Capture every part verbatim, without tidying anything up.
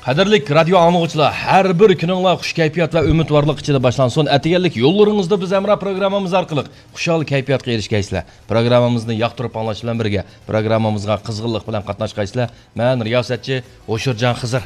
قەدىرلىك رادىيو ئاڭلىغۇچىلار، ھەر بىر كۈنۈڭلار خۇش كەيپىيات ۋە ئۈمىدۋارلىق ئىچىدە باشلانسۇن. ئەتىگەنلىك يوللىرىڭىزدا بىز ھەمراھ پروگراممىمىز ئارقىلىق خۇشال كەيپىياتقا ئېرىشكەيسىلەر. پروگراممىمىزنى ياقتۇرۇپ ئاڭلاش بىلەن بىرگە، پروگراممىمىزغا قىزغىنلىق بىلەن قاتناشقايسىلەر. مەن رىياسەتچى ھوشۇرجان خىزىر.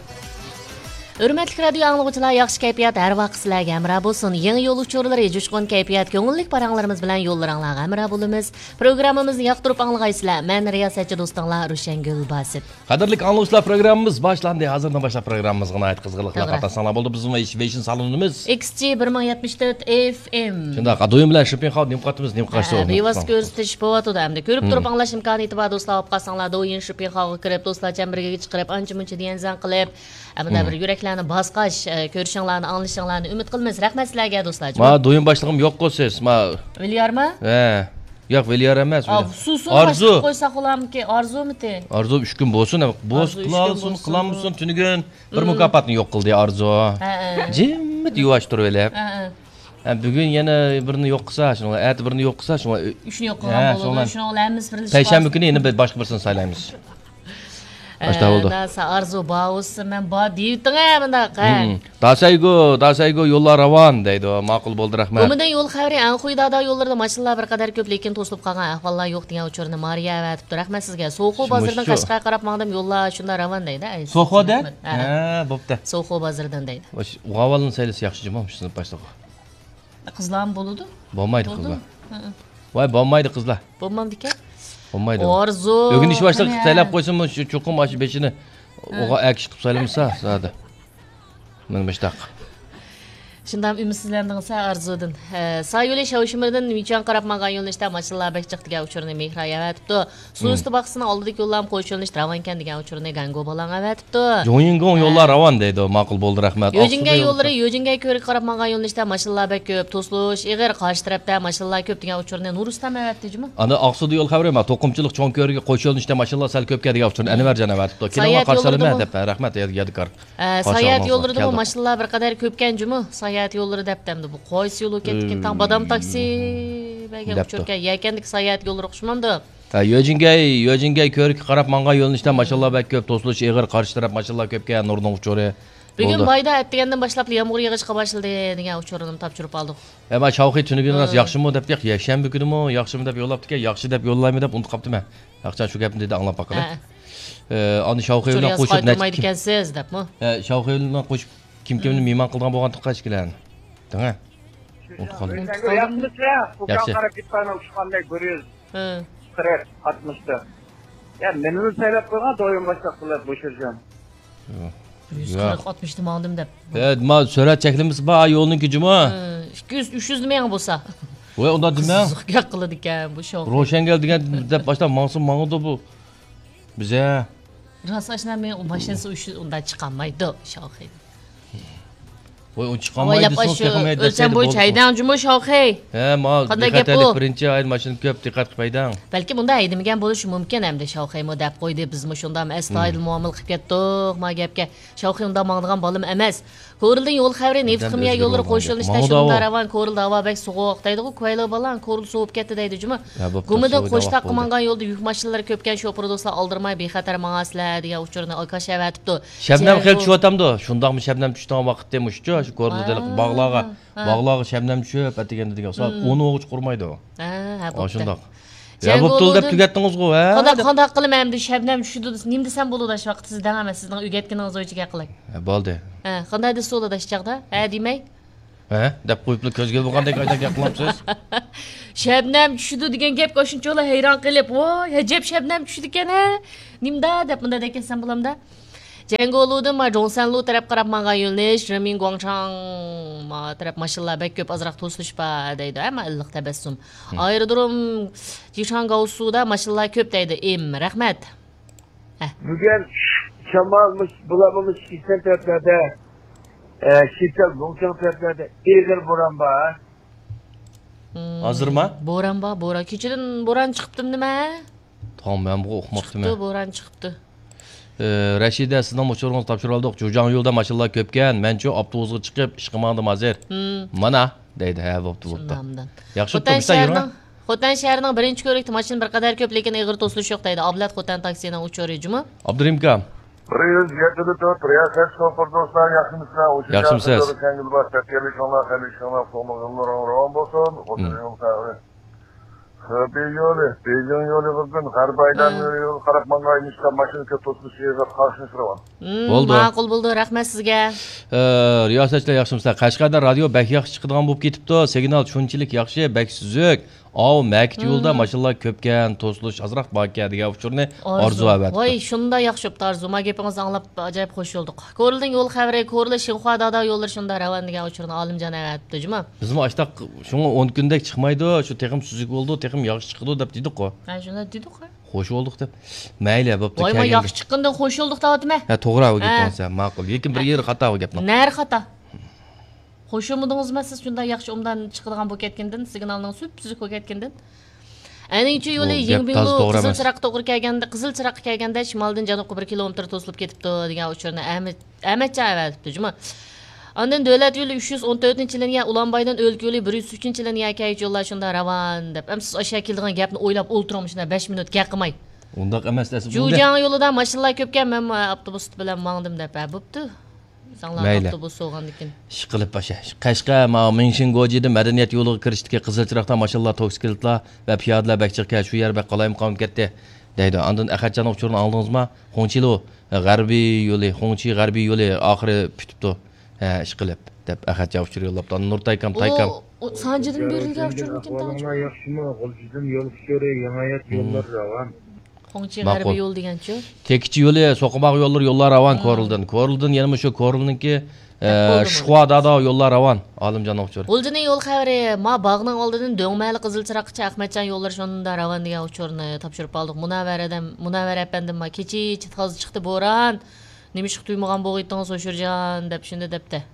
ھۆرمەتلىك رادىيو ئاڭلىغۇچىلار، ياخشى كەيپىيات ھەر ۋاقىت سىلەرگە ھەمراھ بولسۇن. يېڭى يول ئۇچۇرلىرى، جۇشقۇن كەيپىيات، كۆڭۈللۈك پاراڭلىرىمىز بىلەن يوللىرىڭلارغا ھەمراھ بولىمىز. پروگراممىمىزنى ياقتۇرۇپ ئاڭلىغايسىلەر. مەن رىياسەتچى دوستۇڭلار روشەنگۈل باسىت. قەدىرلىك ئاڭلىغۇچىلار، پروگراممىمىز باشلاندى. ھازىردىن باشلاپ پروگراممىمىزغا ناھايىتى قىزغىنلىق بىلەن توغرا. قاتناشساڭلار بولدى. بىزنىڭ ۋېيش-، ۋېيشىن سالونىمىز. ئېكس جى بىر مىڭ يەتمىش تۆت ئېف ئېم. شۇنداق، دويۇم بىلەن شىپىنخاۋ نېمە قاتىمىز، نېمە قاشتۇ. ھە، بىۋاسىتە كۆرسىتىش بولۇۋاتىدۇ ئەمدى. كۆرۈپ تۇرۇپ ئاڭلاش ئىمكانىيىتى بار دوستلار، بولۇپ قالساڭلار، دويىن شىپىنخاۋغا كىرىپ، دوستلار چەمبىرىكىگە چىقىرىپ، ئانچە مۇنچە دىيەنزەن قىلىپ، ئەمدى بىر يۈرەكلەرنى باسقاچ، ئە، كۆرۈشۈڭلارنى، ئاڭلىشىڭلارنى ئۈمىد قىلىمىز. رەھمەت سىلەرگە دوستلار. ما دويۇم باشلىقىم يوققۇ سىز، ما. ۋىليارما؟ ھە. ياق، ۋىليار ئەمەس. ئا، سۇسۇن ئارزۇ. باشلىق قويساق بولامىكى؟ ئارزۇمىتى؟ ئارزۇ ئۈچ كۈن بولسۇن، بولسا ئارزۇ ئۈچ كۈن قىلالسۇن، بولسۇن. قىلالمىسۇن، تۈنۈگۈن بىر مۇكاپاتنى يوق قىلدى ئارزۇ. ھە، ھە. جىممىت يۇۋاش تۇرۇۋېلىپ. ھە، ھە. ھە، بۈگۈن يەنە بىرنى يوق قىلسا، شۇنىڭ ئەتە بىرنى يوق قىلسا، شۇنىڭ ئۈچنى يوق قىلغان بولىدۇ. شۇنىڭ بىلەن پەيشەنبە كۈنى يەنە بىر باشقا بىرسىنى سايلايمىز. ئاشتا بولدى. ئە، داسا ئارزۇ باۋۇسى، مەن بار دېيىۋېتىڭ، ھە، مۇنداق، ھە. داسەيگو، داسەيگو، يوللار راۋان دەيدۇ. ماقۇل بولدى، رەھمەت. گۇمىدىن يول خەۋىرى، ئەنخۇي دادا يوللىرىدا ماشىنىلار بىر قەدەر كۆپ، لېكىن توسۇلۇپ قالغان ئەھۋاللار يوق دېگەن ئۇچۇرنى مارىيا ئەۋەتىپتۇ. رەھمەت سىزگە. سوخۇ بازىرىدىن قەشقەرگە قاراپ ماڭدىم، يوللار شۇنداق راۋان دەيدۇ. ئەي، سوخۇدە؟ رەھمەت. ھە. ھە، بوپتۇ. سوخۇ بازىرىدىن دەيدۇ. ئۇغاۋالنى سەيلىسە ياخشى جۇمۇ، مۇشۇنى باشلىقى. قىزلارمۇ بولىدۇ؟ بولمايدۇ قىزلار. ۋاي، بولمايدۇ قىزلار. بولمامدىكەن؟ بولمايدۇ. ئارزۇ. ئۆگىنىش باشلىقى سەيلەپ قويسىمۇ، شۇ چوقۇم ئاشۇ بېشىنى ئوغا ئەكىشىپ سايلىمىسا، زادى. مانا مۇشتاق. شۇنداق ئۈمىدسىزلەندىڭىز ئارزۇدىن. ھە، سايولى شاۋشىمىردىن مىچۈەنگە قاراپ ماڭغان يۆنىلىشتە ماشىنىلار بەك جىق دېگەن ئۇچۇرنى مېھرا ئەۋەتىپتۇ. سۇ ئۈستى باغچىسىنىڭ ئالدىدىكى يوللارمۇ قوش يۆنىلىشتە راۋانكەن دېگەن ئۇچۇرنى گاڭگو بالاڭ ئەۋەتىپتۇ. جۇڭيىڭگوڭ يوللار راۋان دەيدۇ. ماقۇل بولدى، رەھمەت. يۆجىنگەي يوللىرى، يۆجىنگەي كۆۋرۈكىگە قاراپ ماڭغان يۆنىلىشتە ماشىنىلار بەك كۆپ. توسۇلۇش ئېغىر، قارشى تەرەپتە ماشىنىلار كۆپ دېگەن ئۇچۇرنى نۇرۇسلام ئەۋەتتى جۇمۇ. ئاندىن ئاقسۇدا يول خەۋىرى، ما، توقۇمىچىلىق چوڭ كۆۋرۈكى قوش يۆنىلىشتە ماشىنىلار سەل كۆپكەن دېگەن ئۇچۇرنى ئەنۋەرجان ئەۋەتىپتۇ. كېلىڭلار، قارشى ئالىمەن دەپ، رەھمەت، يادىكار. ئە، ساياھەت يوللىرىدىمۇ ماشىنىلار بىر قەدەر كۆپكەن جۇمۇ. ساياھەت يوللىرى دەپتۇ ئەمدى بۇ قايسى يول ئۆتۈپ كەتتىكىن؟ تاڭ بادام تاكسى بەرگەن ئۇچۇركەن. يەكەندىكى ساياھەت يوللىرى ئوخشىمامدۇ؟ ھە، يۆجىنگەي، يۆجىنگەي كۆۋرۈكىگە قاراپ ماڭغان يۆنىلىشتە ماشىنىلار بەك كۆپ، توسۇلۇش ئېغىر، قارشى تەرەپ ماشىنىلار كۆپكەن، نۇرنىڭ ئۇچۇرى. بۈگۈن بايدا ئەتىگەندىن باشلاپ يامغۇر يېغىشقا باشلىدى دېگەن ئۇچۇرنى تاپشۇرۇپ ئالدۇق. ئەمما شاۋخى تۈنۈگۈن راست ياخشىمۇ دەپ، ياكشەنبە كۈنىمۇ ياخشىمۇ دەپ يوللاپتىكەن، ياخشى دەپ يوللايمۇ دەپ ئۇنتۇپ قاپتىمەن. ياقچان شۇ گەپنى دېدى، ئاڭلاپ باقىلى. ئە، ئاندىن شاۋخى بىلەن قوشۇپ نەچچە كىم، ئە، شاۋخى بىلەن قوشۇپ كىم كىمنى مېھمان قىلىدىغان بولغانتىق ئىككىلەن. دەڭە. ئۇنتۇپ قالدىم. ياخشى. قاراپ كېتىپ قالدىم، ئۇچقاندەك بىر يۈز قىرىق، ئاتمىشتا. يا، مېنىلا سايلاپ قويغان، دويۇم باشلاپ قىلىپ بوشىرجان. بىر يۈز قىرىق، ئاتمىشتا ماڭدىم دەپ. ھە، ما سۈرئەت چەكلىمىسى بار يولنىڭكى جۇمۇ. ئىككى يۈز، ئۈچ يۈزنى مېڭە بولسا. ۋاي، ئۇنداق دېمە. قىزىق گەپ قىلىدىكەن بۇ شوخ. روشەنگەل دېگەن دەپ باشلاپ ماڭسا ماڭىدۇ بۇ. بىزە. راست ئاشنا، مېنىڭ ماشىنىسى ئۇنداق چىقالمايدۇ شاۋخى. ۋاي، ئۇ چىقالمايدۇ، دېسىڭىز تېخىمۇ ھەيدەپ ئۆلچەم بويىچە ھەيدەڭ جۇمۇ شاۋخى. ھە، ما، قانداق گەپ بۇ؟ بىخەتەرلىك بىرىنچى ئايدا ماشىنا كۆپ، دىققەت قىلىپ ھەيدەڭ. بەلكىم ئۇنداق ھەيدىمىگەن بولۇشى مۇمكىن ئەمدى شاۋخىمۇ دەپ قويدى، بىزمۇ شۇنداق ئەستايىدىل مۇئامىلە قىلىپ كەتتۇق ما گەپكە. شاۋخى ئۇنداق ماڭىدىغان بالىم ئەمەس. كورلىدىن يول خەۋىرى، نېفىت خىمىيە يوللىرى قوش يۆنىلىشتە شۇنداق راۋان، كورلدا ھاۋا بەك سوغۇق دەيدىغۇ، كويلىغا بالان، كورلا سوۋۇپ كەتتى دەيدۇ جۇمۇ. گۇمىدىن قوشتاققا ماڭغان يولدا يۈك ماشىنىلىرى كۆپكەن، شوپۇر دوستلار ئالدىرىماي بىخەتەر ماڭاسىلەر دېگەن ئۇچۇرنى ئاكاش ئەۋەتىپتۇ. شەبنەم خېلى چۈشۈۋاتامدۇ؟ شۇنداقمۇ شەبنەم چۈشىدىغان ۋاقىتتىمۇ شۇ، شۇ كورلىدا باغلارغا، باغلارغا شەبنەم چۈشۈپ ئەتىگەندە دېگەن سائەت ئون ئوغۇچ قۇرمايدۇ. ھە، ھە، بوپتۇ. شۇنداق. يا، بوپتۇ دەپ تۈگەتتىڭىزغۇ، ھە؟ قانداق، قانداق قىلىمەن ئەمدى، شەبنەم چۈشىدۇ دېسە، نېمە دېسەم بولىدۇ، شۇ ۋاقىتتا سىز دەڭ ئەمەس، سىزنىڭ ئۆگەتكىنىڭىز بويىچە گەپ قىلاي. ھە، بولدى. ھە، قانداق دېسە بولىدۇ شۇ چاغدا؟ ھە دېمەي. ھە؟ دەپ قويۇپلا كۆزگە بولغاندەك ئايدا گەپ قىلامسىز؟ شەبنەم چۈشىدۇ دېگەن گەپكە ئاشۇنچىۋالا ھەيران قېلىپ، ۋاي، ئەجەب شەبنەم چۈشىدىكەن ھە، نېمىدا دەپ مۇنداق دەپ كەتسەم بولامدا؟ جيەنگولۇدىن ما جوڭسەنلۇ تەرەپ قاراپ ماڭغان يۆنىلىش، رېمىن گۇاڭشاڭ ما تەرەپ ماشىنىلار بەك كۆپ، ئازراق توسۇلۇش بار دەيدۇ، ئەمما ئىللىق تەبەسسۇم. ئايرودروم جىشاڭگاۋسۇدا ماشىنىلار كۆپ دەيدۇ، ئىم، رەھمەت. ھە. بۈگۈن شامال مۇش-، بۇلارمۇ مۇش شىسەن تەرەپلەردە، ئە، شىسەن، لۇڭچاڭ تەرەپلەردە ئېغىر بوران بار. ھازىرما؟ بوران بار، بوران. كېچىدىن بوران چىقىپتىمۇ نېمە؟ تاڭ مەنمۇ ئۇقماپتىمەن. چىقىپتۇ، بوران چىقىپتۇ. ئى، رەشىدە، سىزنىڭ ئۇچۇرىڭىزنى تاپشۇرۇۋالدۇق. جۇجاڭيۇدا ماشىنىلار كۆپكەن. مەنچۇ ئاپتوبۇسقا چىقىپ ئىشقا ماڭدىم ھازىر. مانا، دەيدۇ. ھە، بوپتۇ، بوپتۇ. ياخشى، خوتەن شەھىرىنىڭ، خوتەن شەھىرىنىڭ بىرىنچى كۆۋرۈكتە ماشىنا بىر قەدەر كۆپ، لېكىن ئېغىر توسۇلۇش يوق دەيدۇ. ئابلەت خوتەن تاكسىنىڭ ئۇچۇرى جۇمۇ. ئابدۇرېھىم ئاكا. بىر يۈز يەتتە تۆت، رىياسەت شوپۇر دوستلار، ياخشىمىسىلەر؟ ئوشۇن ياخشىمۇسىز؟ ياخشى، سەنگىل بار، سەپكەرلىك شۇڭلار، خەيرلىك شۇڭلار، سومۇ يوللىرىڭ راۋان بولسۇن. خوتۇن يول خەۋىرى. خېبېي يولى، بېيجىڭ يولى بۈگۈن، غەربىي ئايلان يولىغا قاراپ ماڭغان ئىنىشتا ماشىنا كۆپ توسۇلۇش يېرىغا قارشى رەۋان. مم، ماقۇل بولدى، رەھمەت سىزگە. ئە، رىياسەتچىلەر ياخشىمۇسىلەر؟ قەشقەردە رادىيو بەك ياخشى چىقىدىغان بولۇپ كېتىپتۇ. سىگنال شۇنچىلىك ياخشى، بەك سۈزۈك. ئاۋۇ، مەكىت يولىدا ماشىنىلار كۆپكەن، توسۇلۇش ئازراق باركەن دېگەن ئۇچۇرنى ئارزۇ ئەۋەتىپتۇ. ۋاي، شۇنداق ياخشى بوپتۇ ئارزۇ. ما گېپىڭىزنى ئاڭلاپ ئاجايىپ خوش بولدۇق. كورلىدىن يول خەۋىرى، كورلا شىنخۇا دادا يوللىرى شۇنداق راۋان دېگەن ئۇچۇرنى ئالىمجان ئەۋەتىپتۇ جۇما. بىزمۇ ئاشتاق شۇڭا ئون كۈندەك چىقمايدۇ، شۇ تېخىمۇ سۈزۈك بولىدۇ، تېخىمۇ ياخشى چىقىدۇ دەپ دېدۇققۇ. ھە، شۇنداق دېدۇققۇ. خوش بولدۇق دەپ. مەيلى، بوپتۇ، ۋاي، ما كەلگەندە. ياخشى چىققىنىدىن خوش بولدۇق دەۋاتىمەن. ھە، توغرا بۇ گەپ ھە. بولسا، ماقۇل. لېكىن بىر يېرى خاتا بۇ گەپنىڭ. نەرە خاتا؟ خوش بولمىدىڭىزمۇ سىز شۇنداق ياخشى ئوبدان چىقىدىغان بولۇپ كەتكەندىن، سىگنالنىڭ سۈپسۈزۈك بولۇپ كەتكەندىن؟ ئەنىڭچۇ يولى بۇ گەپ يىڭبىڭلۇ تازا توغرا قىزىل ئەمەس. چىراغقا توغرا كەلگەندە، قىزىل چىراغقا كەلگەندە شىمالدىن جەنۇبقا بىر كىلومېتىر توسۇلۇپ كېتىپتۇ دېگەن ئۇچۇرنى ئەمە-، ئەمەتجان ئەۋەتىپتۇ جۇمۇ. ئاندىن دۆلەت يولى ئۈچ يۈز ئون تۆتىنچى لىنىيە، ئۇلانبايدىن ئۆلكە يولى بىر يۈز ئۈچىنچى لىنىيە كەيچى يوللار شۇنداق راۋان دەپ. ئەمسىز ئاشۇ كېلىدىغان گەپنى ئويلاپ ئولتۇرۇڭ، مۇشۇنداق بەش مىنۇت گەپ قىلماي. ئۇنداق ئەمەس، ئەسلى بۇ گەپ. جۇجياڭ يولىدا ماشىنىلار كۆپكەن، مەنمۇ ئاپتوبۇس بىلەن ماڭدىم دەپ، ھە، بوپتۇ. ساڭلار مەيلى. ئاپتوبۇس بولغاندىكىن. ئىشقىلىپ ئاشا. قەشقەر، ماۋۇ مىڭشىن گوجىدىن مەدەنىيەت يولىغا كىرىشتىكى قىزىل چىراغدا ماشىنىلار، توكسىكلىتلار ۋە پىيادىلەر بەك جىقكەن، شۇ يەر بەك قالايمىقان بولۇپ كەتتى، دەيدۇ. ئاندىن ئەخەتجاننىڭ ئۇچۇرىنى ئاڭلىدىڭىزما؟ خۇڭچىلۇ، غەربىي يولى، خۇڭچى غەربىي يولى ئاخىرى پۈتۈپتۇ. ھە، ئىشقىلىپ، دەپ ئەخەتجان ئۇچۇر يوللاپتۇ. ئاندىن نۇرتاي ئاكام، تايكام. ئۇ سانجىدىن بېرىلگەن ئۇچۇرمىكىن تاڭ؟ ئەھۋالىڭلار ياخشىمۇ؟ غۇلجىدىن يول ئۇچۇرى، يېڭى ھايات يوللىرى راۋان. خۇڭچى ماقۇل. غەربىي يول دېگەنچۇ؟ تېكىچى يولى، سوقماق يوللىرى، يوللار راۋان كورلىدىن. كورلىدىن يەنە مۇشۇ كورلىنىڭكى، ئە، شىخۇا دادا يوللار راۋان. ئالىمجاننىڭ ئۇچۇرى. غۇلجىنىڭ يول خەۋىرى، ما باغنىڭ ئالدىدىن دۆڭمەلى قىزىل چىراغقىچە ئەخمەتجان يوللىرى شۇنداق راۋان دېگەن ئۇچۇرنى تاپشۇرۇپ ئالدۇق. مۇنەۋۋەر ئادەم، مۇنەۋۋەر ئەپەندىم، ما كېچىچە تازا چىقتى بوران. نېمىشقا تۇيمىغان بولغىيتتىڭىز ھوشۇرجان دەپ شۇنداق دەپتە.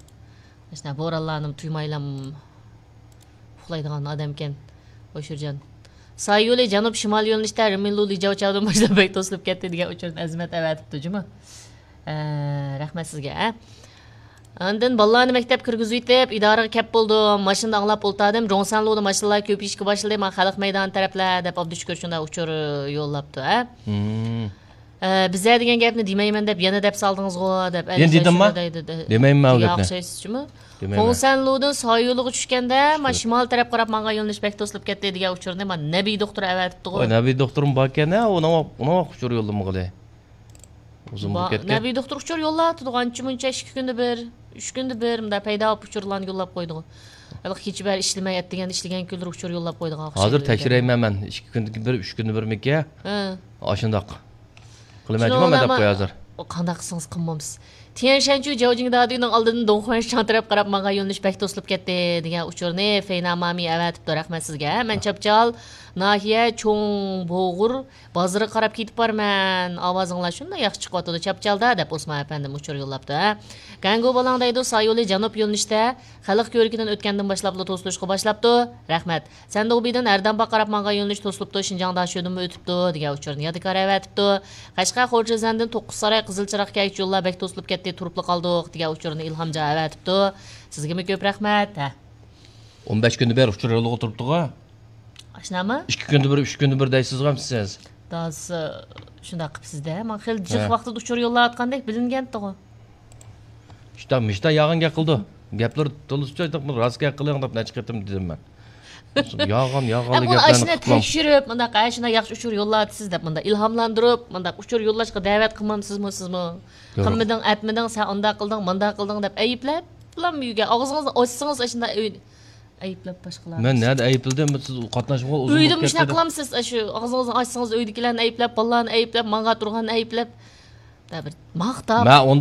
ئاشۇنداق بورانلارنىمۇ تۇيمايلام ئۇخلايدىغان ئادەمكەن ھوشۇرجان. سايولى جەنۇب شىمال يۆنىلىشتە رىمىنلۇ لىجاۋچاۋدىن باشلاپ بەك توسۇلۇپ كەتتى دېگەن ئۇچۇرنى ئەزىمەت ئەۋەتىپتۇ جۇمۇ. ئە، رەھمەت سىزگە، ئە. ئاندىن بالىلارنى مەكتەپكە كىرگۈزۈۋېتىپ، ئىدارىگە كەپ بولدۇم. ماشىنىدا ئاڭلاپ ئولتاردىم. جوڭسەنلۇدا ماشىنىلار كۆپىيىشكە باشلىدى. ما خەلق مەيدانى تەرەپلەر دەپ ئابدۇشۈكۈر شۇنداق ئۇچۇر يوللاپتۇ، ئە. ئە، بىزە دېگەن گەپنى دېمەيمەن دەپ يەنە دەپ سالدىڭىزغۇ دەپ يەنە دېدىمما؟ دېمەيمەن ئۇ گەپنى. دېمەيمەن. خۇڭسەنلۇدىن سايولىغا چۈشكەندە، ما شىمال تەرەپ قاراپ ماڭغان يۆنىلىش بەك توسۇلۇپ كەتتى دېگەن ئۇچۇرنى ما نەبىي دوختۇر ئەۋەتىپتىغۇ. ۋاي، نەبىي دوختۇرمۇ باركەن ھە، ئۇنىڭ، ئۇنىڭ ئۇچۇر يوللىمىغىلى. ئۇزۇن بولۇپ كەتتى. نەبىي دوختۇر ئۇچۇر يوللاۋاتىدىغۇ، ئانچە مۇنچە ئىككى كۈندە بىر، ئۈچ كۈندە بىر، مۇنداق پەيدا بولۇپ ئۇچۇرلارنى يوللاپ قويىدىغۇ. ھېلىقى كېچە بەر ئىشلىمەي، ئەتىگەن ئىشلىگەن كۈنلىرى ئۇچۇر يوللاپ قويىدىغان ئوخشايدۇ. ھازىر تەكشۈرەيمەن مەن، ئىككى كۈندە بىر، ئۈچ كۈندە بىرمىكى؟ ھە. ئاشۇنداق. قىلىمەن جۇما مەن دەپ قوي ھازىر. قانداق قىلسىڭىز قىلمامسىز. تيەنشەنچۈ جاۋجىڭ دادىنىڭ ئالدىدىن دۇڭخۇەنشاڭ تەرەپ قاراپ ماڭغان يۆنىلىش بەك توسۇلۇپ كەتتى دېگەن ئۇچۇرنى فەينا مامى ئەۋەتىپتۇ، رەھمەت سىزگە. مەن چاپچال ناھىيە چوڭ بوغۇر بازىرىغا قاراپ كېتىپ بارىمەن. ئاۋازىڭلار شۇنداق ياخشى چىقىۋاتىدۇ، چاپچالدا دەپ ئوسمان ئەپەندىم ئۇچۇر يوللاپتۇ، ھە. گەنگۇ بالاڭ دەيدۇ، سايولى جەنۇب يۆنىلىشتە خەلق كۆۋرۈكىدىن ئۆتكەندىن باشلاپلا توسۇلۇشقا باشلاپتۇ. رەھمەت. سەندۇبىدىن ھەردەمباغ قاراپ ماڭغان يۆنىلىش توسۇلۇپتۇ، شىنجاڭ داشۆدىمۇ ئۆتۈپتۇ دېگەن ئۇچۇرنى يادىكار ئەۋەتىپتۇ. قەشقەر خورجىزەندىن توققۇز ساراي قىزىل چىراغ كەيچ يوللار بەك توسۇلۇپ كەتتى، تۇرۇپلا قالدۇق دېگەن ئۇچۇرنى ئىلھامجان ئەۋەتىپتۇ. سىزگىمۇ كۆپ رەھمەت. ھە. ئون بەش كۈندە بىر ئۇچۇر يوللىغا تۇرۇپتىغۇ. ئاشۇنداقمۇ؟ ئىككى كۈندە بىر، ئۈچ كۈندە بىر دەيسىزغۇ سىز. دادىسى شۇنداق قىپسىز-دە. ماڭا خېلى جىق ھە. ۋاقتىدا ئۇچۇر يوللاۋاتقاندەك بىلىنگەنتىغۇ. شتا-، مىشتا ياغان گەپ قىلىدۇ. گەپلىرى تولىسىچە راست گەپ قىلىڭ دەپ نەچچە قېتىم دېدىم مەن. ياغان، ياغانلا ئەمما ئۇنى گەپلەرنى ئاشۇنداق قىلماڭ. تەكشۈرۈپ، مۇنداق، ئە، شۇنداق ياخشى ئۇچۇر يوللاۋاتىسىز دەپ، مۇنداق ئىلھاملاندۇرۇپ، مۇنداق ئۇچۇر يوللاشقا دەۋەت قىلمامسىزمۇ سىزمۇ؟ يورۇق. قىلمىدىڭ، ئەتمىدىڭ، سەن ئۇنداق قىلدىڭ، مۇنداق قىلدىڭ دەپ ئەيىبلەپ، بۇلام ئۆيگە ئاغزىڭىزنى ئاچسىڭىز ئاشۇنداق ئۆي-، ئەيىبلەپ باشقىلارنى. مەن نەدە ئەيىبلىدىم؟ سىز قاتناشمىغىلى ئۇزۇن ئۆيدە بولۇپ مۇشۇنداق كەتتى. قىلامسىز، ئاشۇ ئاغزىڭىزنى ئاچسىڭىز ئۆيدىكىلەرنى ئەيىبلەپ، بالىلارنى ئەيىبلەپ، ماڭا تۇرغاننى ئەيىبلەپ، بىر ماختاپ. مەن ئۇنداق